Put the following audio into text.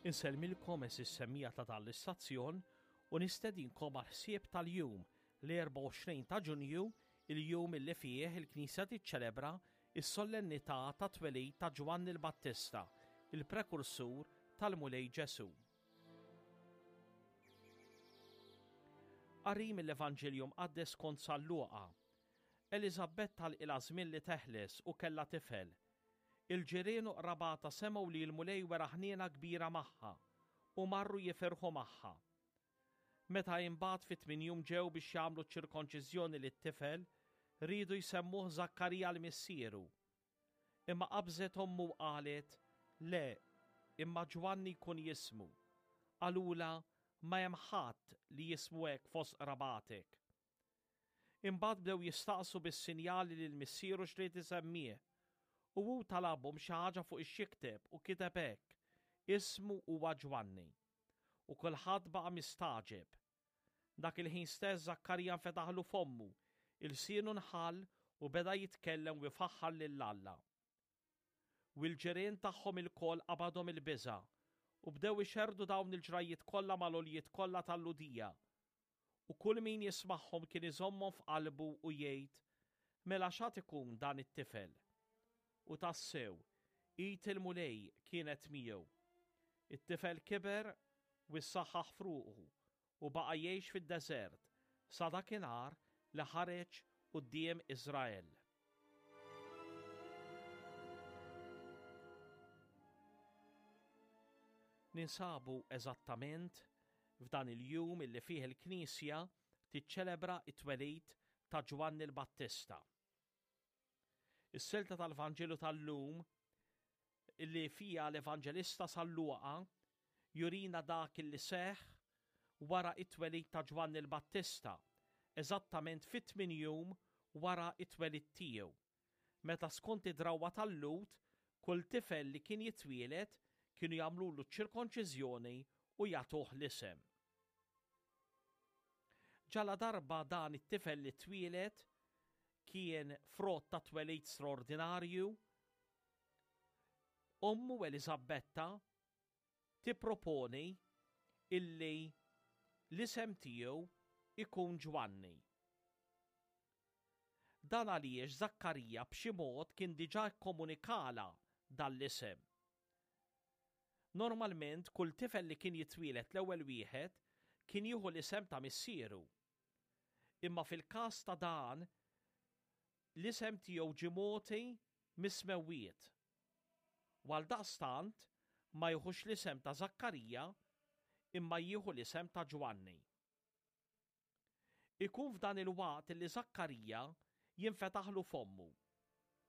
Insellmilkom eżis semmija ta' dan l-istazzjon u nistedinkom għal ħsieb tal-jum l-24 ta' Ġunju, il-jum illi fih il-Knisja tiċċelebra is-sollennità ta' twelid ta' Ġwanni l-Battista, il-prekursur tal-Mulej Ġesù. Qari mill-Evanġelju Mqaddes skont San Luqa. Eliżabetta għalqilha żmien li teħles u kellha tifel. Il-ġirien u qrabatha semgħu li l-Mulej wera ħniena kbira magħha u marru jifirħu magħha. Meta imbagħad fit-tmien jum ġew biex jagħmlu ċ-ċirkonċiżjoni lit-tifel, riedu jsemmuh Żakkarija 'l missieru. Imma qabżet ommu u qalet, Le, imma Ġwanni jkun jismu. Qalulha, Ma hemm ħadd li jismu hekk fost qrabatek. Imbagħad bdew jistaqsu bis-sinjali lil missieru x'ried isemmih. U hu talabhom xi ħaġa fuq ix-xikteb u kiteb hekk, Ismu huwa Ġwanni. U kulħadd baqa' mistagħġeb. Dak il-ħin stess Żakkarija nfetaħlu fommu, ilsienu nħall u beda jitkellem u jfaħħar lil Alla. U l-ġirien tagħhom ilkoll qabadhom il-biża' u bdew ixerrdu dawn il-ġrajjiet kollha mal-għoljiet kollha tal-Lhudija. U kull min jismagħhom kien iżommhom f'qalbu u jgħid, Mela x'għad ikun dan it-tifel? U tassew, id il-Mulej kienet miegħu. It-tifel kiber u ssaħħaħ f'ruħu u baqa' jgħix fid-deżert sa dakinhar li ħareġ quddiem Iżrael. Ninsabu eżattament f'dan il-jum illi fih il-Knisja tiċċelebra t-twelid ta' Ġwanni l-Battista. Is-silta tal-Vanġelu tal-lum illi fiha l-Evanġelista San Luqa jurina dak illi seħħ wara t-twelid ta' Ġwanni l-Battista, eżattament fit-tmien jum wara t-twelid tiegħu, meta skont id-drawwa tal-Lhud kull tifel li kien jitwieled kienu jagħmlulu ċ-ċirkonċiżjoni u jagħtuh l-isem. Ġaladarba dan it-tifel li twieled kien frott ta' twelid straordinarju, ommu Eliżabetta tipproponi illi l-isem tiegħu ikun Ġwanni. Dan għaliex Żakkarija b'xi mod kien diġà kkomunikalha dan l-isem. Normalment kull tifel li kien jitwieled l-ewwel wieħed kien jieħu l-isem ta' missieru. Imma fil-każ ta' dan, l-isem tiegħu ġie mogħti mis-smewwiet. U għaldaqstant ma jiħux l-isem ta' Żakkarija imma jieħu l-isem ta' Ġwanni. Ikun f'dan il-waqt li Żakkarija jinfetaħlu fommu.